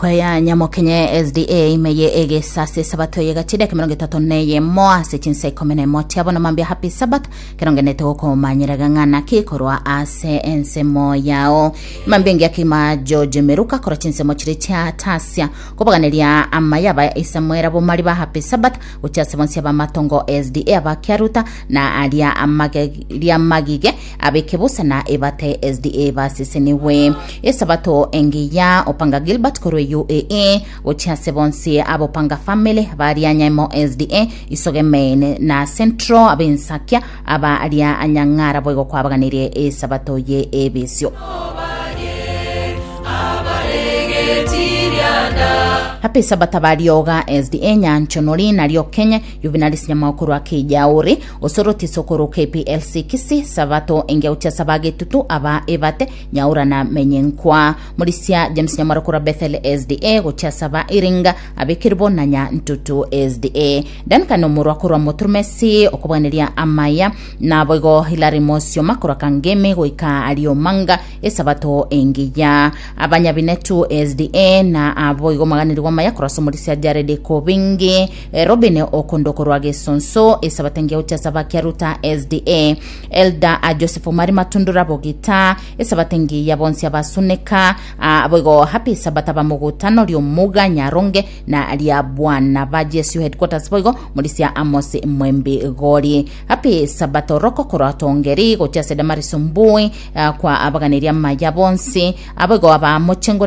Ekwaya Nyamokenye SDA ime ye egesasi esabato eye gachire ekemerongo 31 ase chinsa 11 chiabo na mambia happy sabbath kerongenete gokomanyeraga ng'a naki korwa ase ensemo yao mambia engiya kima George Meruka korwa chinsemo chire chia Tasia kobaganeria amaya aba Isamuela bomari ba happy sabbath gochia ase bonsi abamatongo SDA abakiaruta na aria amage riamagige Abeke bosa na ebate SDA basesenigwe. Esabato engiya Opanga Gilbert korwa UAE gochia ase bonsi ab'Opanga family baria Nyaimo SDA Isoge Main na Central ab'Ensakia aba aria Nyang'ara boigo kwabaganirie esabato ye ebisio. Happy Sabbath abarioga SDA Nyanchonori nario Kenya Juvenalis Nyamao korwa Kijauri Osoro tisokoro KPLC Kisii Sabato engiauchia saba getutu aba ebate nyaura na menyenkwa Morisia James Nyamwaro korwa Bethel SDA gochia saba Iringa abekirbo na Nyantutu SDA Duncan Omorwa korwa Moturumesi okobwaneria amaya naboigo Hilary Mosioma korwa Kangemi goika Riomanga esabato engiya Abanyabinetu SDA na aboigo maganeriwa amaya korwa ase Omorisia Jared Kobingi Robin okondo korwa Gesonso, Esabato engiya gochia ase abakiaruta SDA, Elder a Joseph Omari Matundura Bogita, Esabato engiya bonsi abasuneka, ah, boigo Happy Sabbath abamogutano Riomuga Nyaronge na ria Bwana ba GSU Headquarters boigo Morisia Amos Mwembi Gori. Happy Sabbath Oroko korwa Tongeri gochia ase Damaris Mbui ah, kwa abaganeria amaya bonsi, aboigo abamochengo.